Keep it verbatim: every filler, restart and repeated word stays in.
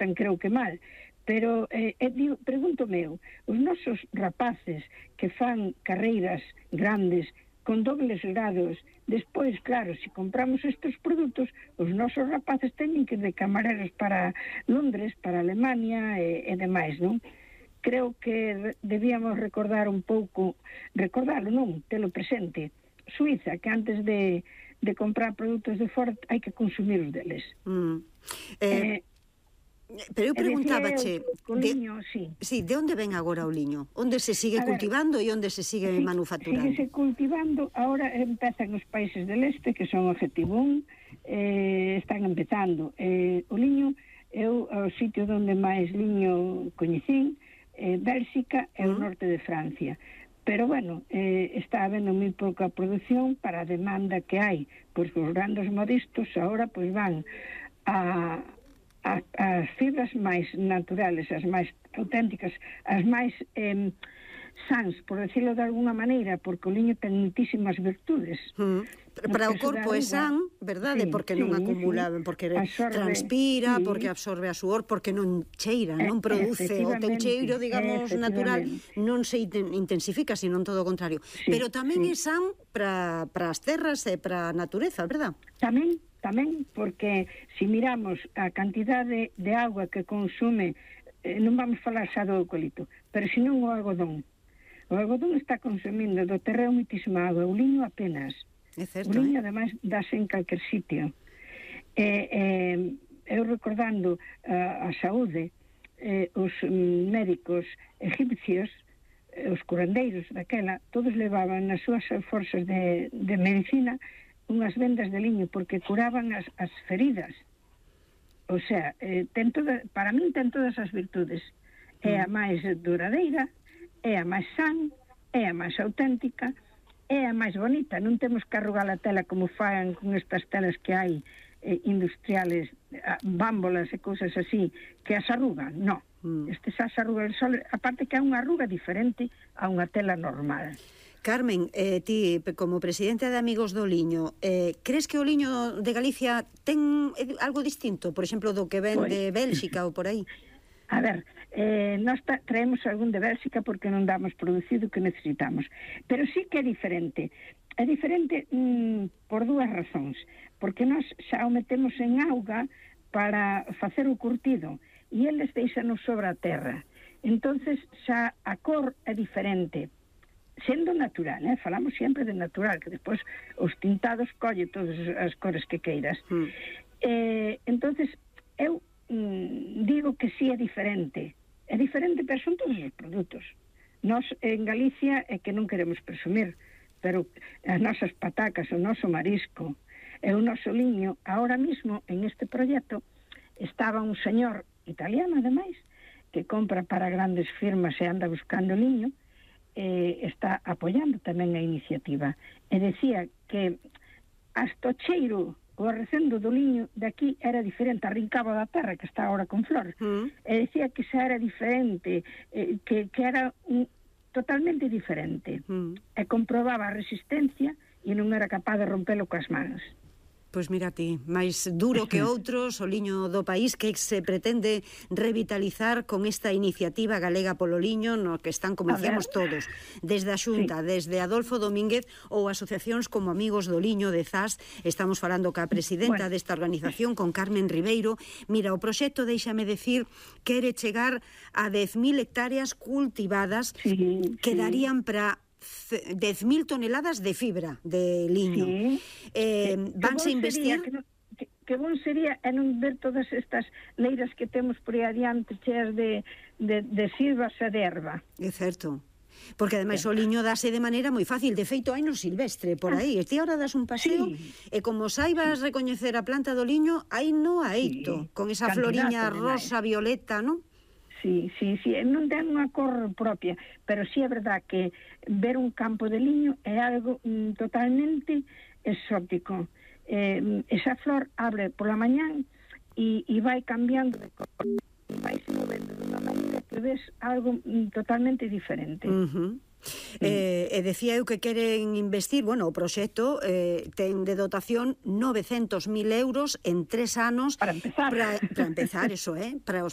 tan creo que mal, pero eh, eh, digo, pregunto meu, os nosos rapaces que fan carreiras grandes con dobles grados, despois, claro, se compramos estes produtos, os nosos rapaces teñen que ir de camareros para Londres, para Alemania e, e demais, non? Creo que debíamos recordar un pouco, recordarlo, non, telo presente, Suiza, que antes de, de comprar produtos de fora hai que consumir os deles. Mm. Eh... eh Pero eu preguntábache, de, sí. Sí, de onde ven agora o liño? Onde se sigue ver, cultivando e onde se sigue sí, manufacturando? Síguese cultivando, ahora empezan os países del este, que son Objetivo un, eh, están empezando. Eh, o liño, eu, o sitio onde máis liño coñecín, eh, Bélxica e o norte de Francia. Pero, bueno, eh, está habendo moi pouca produción para a demanda que hai, pois os grandes modistos agora pois van a... As, as fibras máis naturales, as máis auténticas, as máis eh, sans, por decirlo de alguna maneira, porque o liño ten muitísimas virtudes. Mm. Para o corpo é san, verdade? Sí, porque non sí, acumula, sí. porque absorbe, transpira, sí. porque absorbe a suor, porque non cheira, non produce o teu cheiro, digamos, natural, non se intensifica, sino todo o contrario. Sí, pero tamén sí. é san para as terras e para a natureza, verdad? Tamén. Tamén porque se miramos a cantidade de agua que consume, eh, non vamos falar xa do eucalipto, pero senón o algodón. O algodón está consumindo do terreo muitísima agua, o liño apenas. É certo, o liño, eh? ademais, dáse en calquer sitio. Eh, eh, eu recordando uh, a saúde, eh, os um, médicos egipcios, eh, os curandeiros daquela, todos levaban nas súas forzas de, de medicina unhas vendas de liño porque curaban as, as feridas. O sea, eh, ten toda, para min ten todas as virtudes. É a máis duradeira, é a máis san, é a máis auténtica, é a máis bonita. Non temos que arrugar a tela como fan con estas telas que hai eh, industriales, bámbolas e cousas así, que as arrugan. No, mm. este xa se arruga el sol, aparte que é unha arruga diferente a unha tela normal. Carmen, eh, ti, como presidenta de Amigos do Liño, eh, crees que o liño de Galicia ten algo distinto, por exemplo, do que ven pues, de Bélxica ou por aí? A ver, eh, nós traemos algún de Bélxica porque non damos producido o que necesitamos, pero sí que é diferente. É diferente mm, por dúas razóns, porque nós xa o metemos en auga para facer o curtido e eles deixanos sobre a terra. Entonces xa a cor é diferente, sendo natural, eh? Falamos sempre de natural, que despois os tintados colle todas as cores que queiras. Mm. Eh, entonces, eu mm, digo que sí é diferente. É diferente, pero son todos os produtos. Nós, en Galicia, é que non queremos presumir, pero as nosas patacas, o noso marisco, e o noso liño, ahora mismo, en este proxecto, estaba un señor italiano, ademais, que compra para grandes firmas e anda buscando liño, eh, está apoiando tamén a iniciativa e decía que hasta o cheiro o arrecendo do liño de aquí era diferente, arrincaba da terra que está agora con flor, mm. e decía que xa era diferente, eh, que, que era un, totalmente diferente, mm. e comprobaba a resistencia e non era capaz de rompelo coas mans. Pois mira ti, máis duro que outros o liño do país que se pretende revitalizar con esta iniciativa galega polo liño no que están, como dicíamos todos, desde a Xunta, sí. desde Adolfo Domínguez ou asociacións como Amigos do Liño de Zas. Estamos falando ca presidenta bueno. desta organización, con Carmen Ribeiro. Mira, o proxecto, déixame decir, quere chegar a dez mil hectáreas cultivadas sí, que sí. darían para dez mil toneladas de fibra de liño. Sí. Eh, vanse investir... Que, que, que bon sería e non ver todas estas leiras que temos por aí adiante cheas de, de, de silvas e de erva. É certo. Porque ademais o liño dase de maneira moi fácil. De feito, hai no silvestre por aí. Ti ahora das un paseo sí. e como saibas sí. recoñecer a planta do liño, hai no aito, sí. con esa Cantidad floriña rosa, violeta, non? Sí, sí, sí, non ten unha cor propia, pero sí é verdad que ver un campo de liño é algo mm, totalmente exótico. Eh, esa flor abre pola mañán e, e vai cambiando de cor, e vai se movendo de unha maneira que ves algo mm, totalmente diferente. Uh-huh. Eh, e decía eu que queren investir, bueno, o proxecto eh, ten de dotación novecentos mil euros en tres anos para empezar para, para empezar, eso, eh, para os